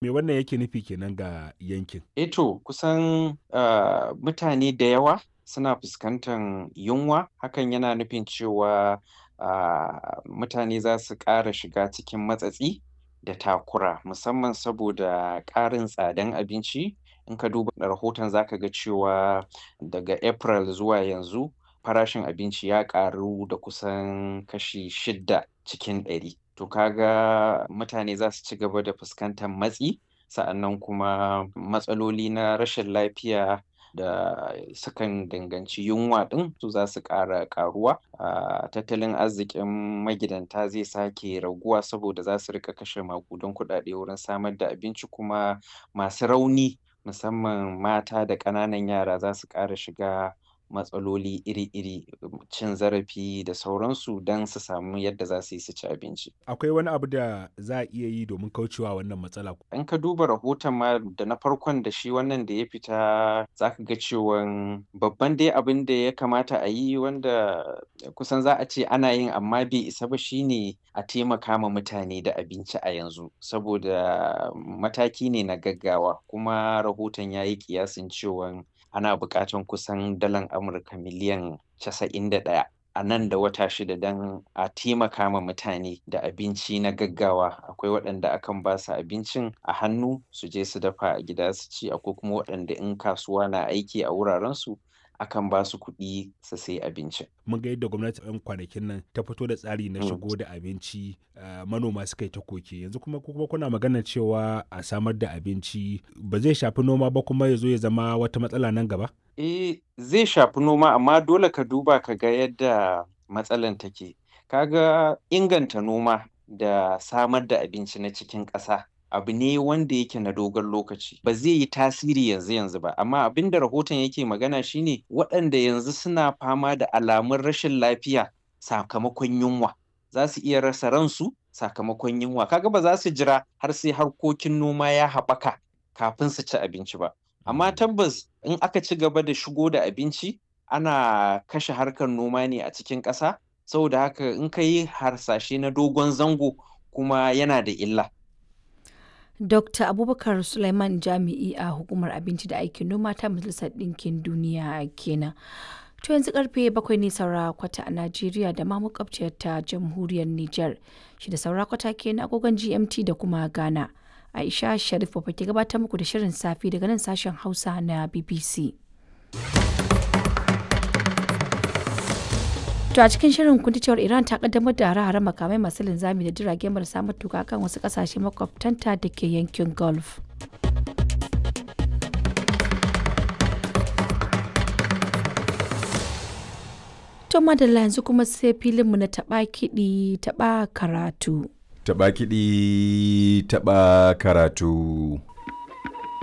Me wannan yake nufi kenan ga yankin? Eh to kusan mutane da yawa suna fuskantan yunwa, hakan yana nufin cewa mutane za su ƙara shiga cikin matsatsi da takura, musamman saboda ƙarin tsadan abinci. In ka duba rahoton za ka ga cewa daga April zuwa yanzu farashin abinci ya ƙaru da kusan kashi 6%. To ka ga mutane za su ci gaba da fuskantar matsi, sa'annan kuma matsaloli na rashin lafiya da sukan danganci yunwa ɗin su za su ƙara ƙaruwa. Tattalin arzikin magidanta zai sake raguwa saboda za su riƙa kashe maƙudan kuɗaɗe wurin samar da abinci, kuma masu rauni musamman mata da ƙananan yara za su ƙara shiga matsaloli iri-iri, cin zarafi da sauransu don su samu yadda za su yi su ci abinci. Akwai wani abu da za a iya yi domin kaucewa wannan matsala? In ka duba rahoton ma da na farkon da shi wannan da ya fita, za ka ga cewan babban dai abin da ya kamata a yi, wanda kusan za a ce ana yin amma bai isa ba, shine a taimaka ma mutane da abinci a yanzu, saboda mataki ne na gaggawa, kuma rahoton ya yi ƙiyasin cewan ana buƙatan kusan dalan Amurka miliyan 91 a nan da wata 6 don a taimaka ma mutane da abinci na gaggawa. Akwai waɗanda akan ba su abincin a hannu su je su dafa a gida su ci, akwai kuma waɗanda in kasuwa na aiki a wurarensu akan ba su kuɗi su sayi abincin. Mun ga yadda gwamnati 'yan kwanakin nan ta fito da tsari na shigo da abinci, manoma suka yi ta koke. Yanzu kuma ku kuma kuna maganar cewa a samar da abinci ba zai shafi noma ba kuma ya zo ya zama wata matsala nan gaba? Eh, zai shafi noma, amma dole ka duba ka ga yadda matsalan take. Ka ga inganta noma da samar da abinci na cikin ƙasa abu ne wanda yake na dogon lokaci. Ba zai yi tasiri yanzu-yanzu ba, amma abin da rahoton yake magana shine waɗanda yanzu suna fama da alamun rashin lafiya sakamakon yunwa, za su iya rasa ransu sakamakon yunwa. Ka ga ba za su jira har sai harkokin noma ya haɓaka kafin su ci abinci ba. Amma tabbas in aka ci gaba da shigo da abinci, ana kashe harkar noma ne a cikin ƙasa, saboda haka in ka yi harsashe na dogon zango kuma yana da illa. Dr. Abubakar Sulaiman, jami'i a Hukumar Abinci da Aikin Noma ta Majalisar Ɗinkin Duniya kenan. To yanzu karfe 7 ne saura kwata a Najeriya da ma makwabciyar ta Jamhuriyar Nijar. 6 saura kwata kenan agogon GMT da kuma Ghana. Aisha Sharif Baba ke gabatar muku da shirin safe daga nan sashen Hausa na BBC. To a cikin shirin kun ji cewar Iran ta kaddamar da hare-haren makamai masu linzami da jirage marasa matuka kan wasu kasashe makwabtanta da ke yankin Gulf. To madalla, yanzu kuma sai filinmu na taɓa kiɗi taɓa karatu. Taɓa kiɗi, taɓa karatu.